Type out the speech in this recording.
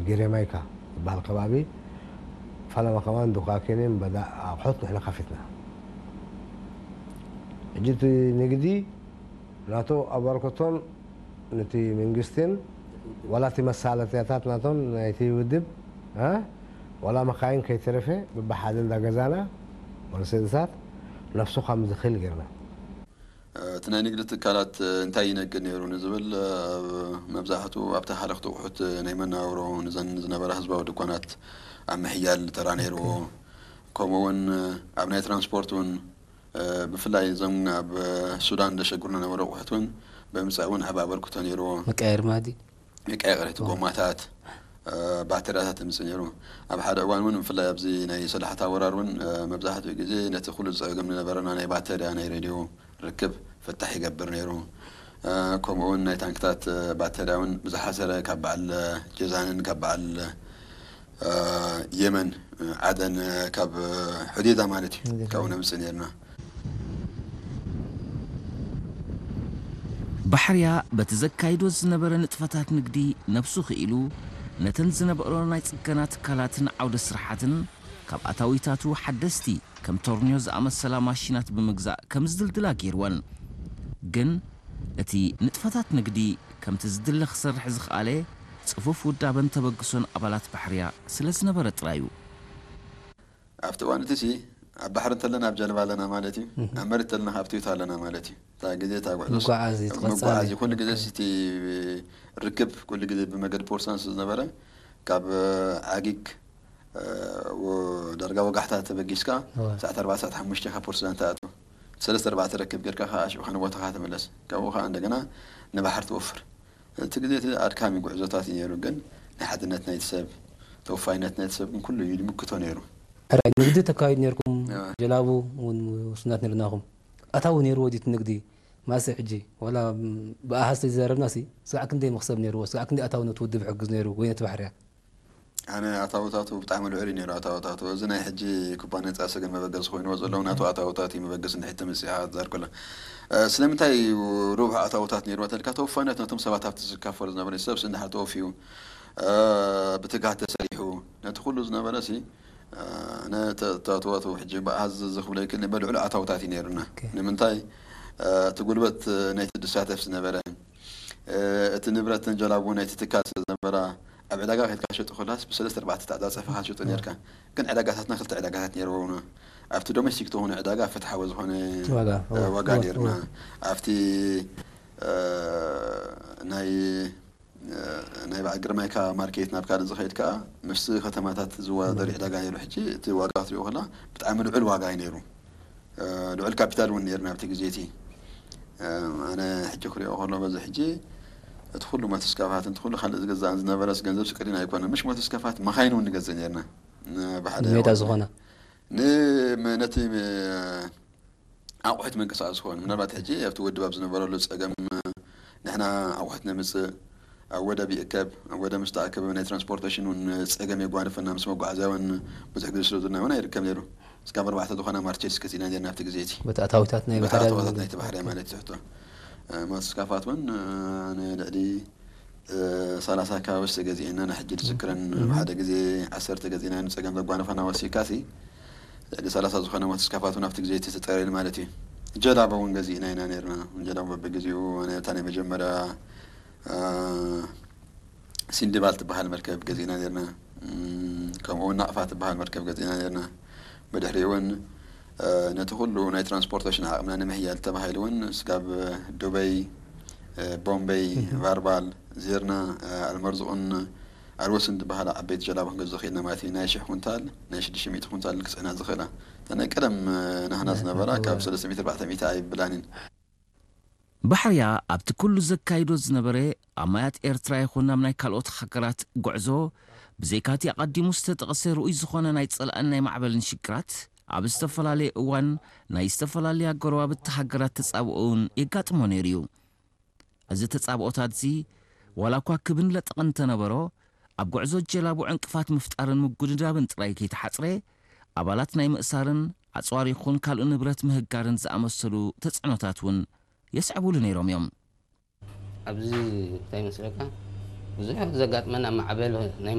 ጊሬማይካ ዝበሃል ከባቢ ፈለማ ከማን ዱካኬንን በዳ ኣቑሑት ንሕና ከፊትና። ሕጂ እቲ ንግዲ ናቶ ኣበርክቶን ነቲ መንግስትን ዋላ እቲ መሳለጥያታት ናቶም ናይቲ ውድብ እ ዋላ መካይን ከይተረፈ ብብሓደ እንዳገዛና መርሴድሳት ነፍሱ ከም ዝኽእል ጌርና። እቲ ናይ ንግዲ ትካላት እንታይ ይነግድ ነይሩ ንዝብል መብዛሕቱ ኣብቲ ሃለኽቲ ኣቑሑት ናይ መናብሮ ንዘን ዝነበራ ህዝባዊ ድኳናት ኣብ ምሕያል ተራ ነይርዎ። ከምኡ እውን ኣብ ናይ ትራንስፖርት እውን ብፍላይ እዞም ኣብ ሱዳን ዘሸግሩና ነበሩ ኣቑሑት እውን ብምምፃእ እውን ዓቢ ኣበርክቶ ነይርዎ። መቀያየሪ ማዲ መቀያየሪ እቲ ጎማታት ባተሪያታት ምጽእ ነይሩ። ኣብ ሓደ እዋን እውን ብፍላይ ኣብዚ ናይ ሰላሕታ ወራር እውን መብዛሕትኡ ግዜ ነቲ ኩሉ ዝጸገም ዝነበረና ናይ ባተሪያ ናይ ሬድዮ ርክብ ፍታሕ ይገብር ነይሩ። ከምኡ እውን ናይ ታንክታት ባተሪያ እውን ብዝሓሰረ ካብ በዓል ጀዛንን ካብ በዓል የመን ዓደን ካብ ሑዴዳ ማለት እዩ ካብኡ ነምጽእ ነርና። ባሕርያ በቲ ዘካይዶ ዝነበረ ንጥፈታት ንግዲ ነብሱ ክኢሉ ነተን ዝነበሮ ናይ ጽገና ትካላትን ዓውደ ስራሓትን ካብ ኣታዊታቱ ሓደስቲ ከም ቶርኒዮ ዝኣመሰላ ማሽናት ብምግዛእ ከም ዝድልድላ ገይርወን። ግን እቲ ንጥፈታት ንግዲ ከምቲ ዝድለ ክሰርሕ ዝኸኣለ ጽፉፍ ውዳበን ተበግሶን ኣባላት ባሕርያ ስለ ዝነበረ ጥራይ እዩ። ኣብቲ እዋን እቲ ሲ ኣብ ባሕሪ እንተለና ኣብ ጀልባ ኣለና ማለት እዩ። ኣብ መሬት እንተለና ኣብ ትዊታ ኣለና ማለት እዩ። እታ ግዜ እታ ጉዕዞ መጓዓዚ እቲ ቀጻሊ መጓዓዚ ኩሉ ግዜ እቲ ርክብ ኩሉ ግዜ ብመገዲ ፖርሳን ዝነበረ ካብ ዓጊግ ዳርጋ ወጋሕታ ተበጊስካ ሰዓት ኣርባዕተ ሰዓት ሓሙሽተ ካብ ፖርት ሱዳን ትኣቱ ሰለስተ ኣርባዕተ ረክብ ጌርካ ከዓ ሽዑ ንቦታኻ ትምለስ ካብኡ ከዓ እንደገና ንባሕር ትወፍር እቲ ግዜ እቲ ኣድካሚ ጉዕዞታት እዩ ነይሩ ግን ናይ ሓድነት ናይቲ ሰብ ተወፋይነት ናይቲ ሰብ ግን ኩሉ እዩ ዝምክቶ ነይሩ ሕራይ ንግዲ ተካይዱ ነይርኩም ጀላቡ እውን ውሱናት ነርናኹም ኣታዊ ነይርዎ ድዩ እቲ ንግዲ ማእሰ ሕጂ ዋላ ብኣሃዝ ተዘራረብና ሲ ስጋዕ ክንደይ መኽሰብ ነይርዎ ስጋዕ ክንደይ ኣታዊ ነቲ ውድብ ይሕግዝ ነይሩ ወይ ነቲ ባሕርያ ኣነ ኣታውታቱ ብጣዕሚ ልዑል እዩ ነይሩ ኣታውታቱ። እዚ ናይ ሕጂ ኩባንያ ጻሰ ግን መበገሲ ኮይንዎ ዘሎ ናቱ ኣታውታት እዩ መበገሲ እንድሕር ተመጺኣ ትዛር ከሎ። ስለምንታይ እዩ ርብሑ ኣታውታት ነይርዎ ተልካ ተወፋይነት ነቶም ሰባት ኣብቲ ዝካፈሉ ዝነበረ ሰብ እንድሕር ተወፊዩ ብትግሃት ተሰሪሑ ነቲ ኩሉ ዝነበረ ሲ ኣነ ተዋተዋቱ ሕጂ ብኣሃዝ ዝኽብሎ ይክእል በልዕሉ ኣታውታት እዩ ነይሩና ንምንታይ እቲ ጉልበት ናይቲ ዝሳተፍ ዝነበረ እቲ ንብረት ተንጀላቡ ናይቲ ትካል ስለ ዝነበራ ኣብ ዕዳጋ ከድካ ሸጡ ከላስ ብሰለስተ ኣርባዕተ ተዓፃፀፍካ ትሸጡ ነርካ ግን ዕዳጋታትና ክልተ ዕዳጋታት ነይርዎና ኣብቲ ዶሜስቲክ ተኾነ ዕዳጋ ፍትሓዊ ዝኾነ ዋጋ ነርና ኣብቲ ናይ ናይ በዓል ግርማይካ ማርኬት ናብ ካልእ ዝኸይድ ከዓ ምስ ከተማታት ዝወዳደር ዕዳጋ ነይሩ ሕጂ እቲ ዋጋ ክትሪኦ ከላ ብጣዕሚ ልዑል ዋጋ እዩ ነይሩ ልዑል ካፒታል እውን ነርና ኣብቲ ግዜ እቲ ኣነ ሕጂ ክሪኦ ከሎ በዚ ሕጂ እቲ ኩሉ ሞተስካፋት እቲ ኩሉ ካልእ ዝገዛእን ዝነበረስ ገንዘብ ስቅሪን ኣይኮነ ምሽ ሞተስካፋት መኻይን እውን ንገዝእ ነርና ብሓደ ሜዳ ዝኾና ነቲ ኣቑሑት መንቀሳቐሲ ክኾኑ ምናልባት ሕጂ ኣብቲ ውድብ ኣብ ዝነበረሉ ፀገም ንሕና ኣቑሑት ነምፅእ ኣብ ወደብ ይእከብ ኣብ ወደብ ምስ ተኣከበ ናይ ትራንስፖርቴሽን እውን ፀገም የጓንፈና ምስ መጓዓዝያ እውን ብዙሕ ግዜ ስለ ዝና እውን ኣይርከብ ነይሩ እስካብ ኣርባዕተ ዝኾና ማርቸስ ገዚእና ነርና ኣብቲ ግዜ እቲ በቲ ኣታዊታት ናይ በቲ ባሕርያ ኣታዊታት ዝነበረ። ናይቲ ባሕርያ ማለት ትሕቶ ሞተስካፋት እውን ንልዕሊ ሰላሳ ኣካባቢ ዝተገዚኤና ንሕጂ ዝዝክረን ሓደ ግዜ ዓሰርተ ገዚእና ንፀገም ዘጓነፈና ወሲካሲ ልዕሊ ሰላሳ ዝኾነ ሞተስካፋት እውን ኣብቲ ግዜ እቲ ተፀረየሉ ማለት እዩ ጀላቦ እውን ገዚእና ኢና ነርና ጀላቦ በብግዜኡ እታ ናይ መጀመርያ ሲንዲባል ትበሃል መርከብ ገዚእና ነርና ከምኡ እውን ናቕፋ ትበሃል መርከብ ገዚእና ነርና ብድሕሪኡ እውን ነቲ ኩሉ ናይ ትራንስፖርቴሽን ዓቕምና ንምሕያል ተባሂሉ እውን ስጋብ ዱበይ ቦምበይ ቫርባል ዜርና ኣልመርዝቑን ኣልወስን ዝበሃላ ዓበይቲ ጀላቡ ክንገዝእ ክኢልና ማለት እዩ ናይ ሽሕ ኩንታል ናይ ሽዱሽተ ሚእቲ ኩንታል ክፅዕና ዝኽእላ እታ ናይ ቀደም ናህና ዝነበራ ካብ ሰለስተ ሚእቲ ኣርባዕተ ሚእቲ ኣይብላን እየን ባሕርያ ኣብቲ ኩሉ ዘካይዶ ዝነበረ ኣብ ማያት ኤርትራ ይኹን ኣብ ናይ ካልኦት ሃገራት ጉዕዞ ብዘይካቲ ኣቐዲሙ ዝተጠቕሰ ርኡይ ዝኾነ ናይ ጸላእን ናይ ማዕበልን ሽግራት ኣብ ዝተፈላለየ እዋን ናይ ዝተፈላለያ ጎረባብቲ ሃገራት ተጻብኦ እውን የጋጥሞ ነይሩ እዩ። እዚ ተጻብኦታትዚ ዋላ እኳ ክብን ለጠቕን እንተነበሮ ኣብ ጉዕዞ ጀላቡ ዕንቅፋት ምፍጣርን ምጉድዳብን ጥራይ ከይተሓጽረ ኣባላት ናይ ምእሳርን ኣጽዋር ይኹን ካልእ ንብረት ምህጋርን ዝኣመሰሉ ተጽዕኖታት እውን የስዕቡሉ ነይሮም እዮም። ኣብዚ እንታይ ይመስለካ ብዙሕ ዘጋጥመና ማዕበል ናይ